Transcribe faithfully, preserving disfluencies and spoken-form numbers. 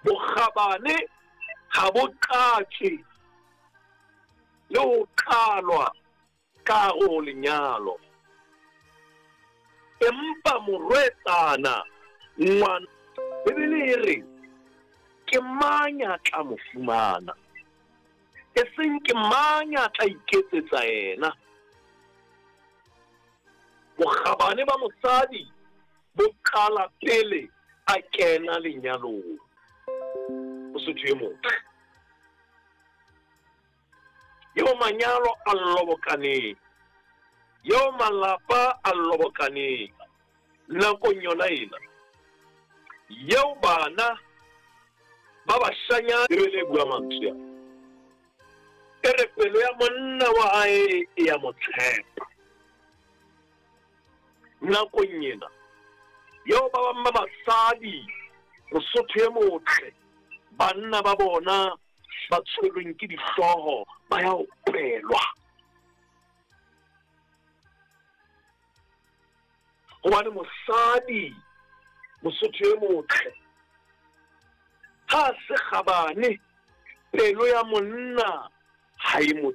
Bokgabane ha bo qatjwe le ho qalwa ka hare ho lenyalo. Empa morwetsana ngwana Bibele e re ke mang ya tla mo fumana, e seng ke mang ya tla iketsetsa yena. Bokgabane ba mosadi bo qala pele a kena lenyalong. Mosotho e motle eo manyalo a lobokaneng, eo malapa a lobokaneng nakong yona ena, eo bana ba bashanyana. Bibele e bua mantswe a e re pelo ya monna wa hae e ya mo tshepa. Nakong ena eo ba bang ba basadi, Mosotho e motle, banna ba bona ba tshwerweng ke dihlooho ba ya opelwa. Hobane mosadi, Mosotho e motle, ha se kgabane, pelo ya monna ha e mo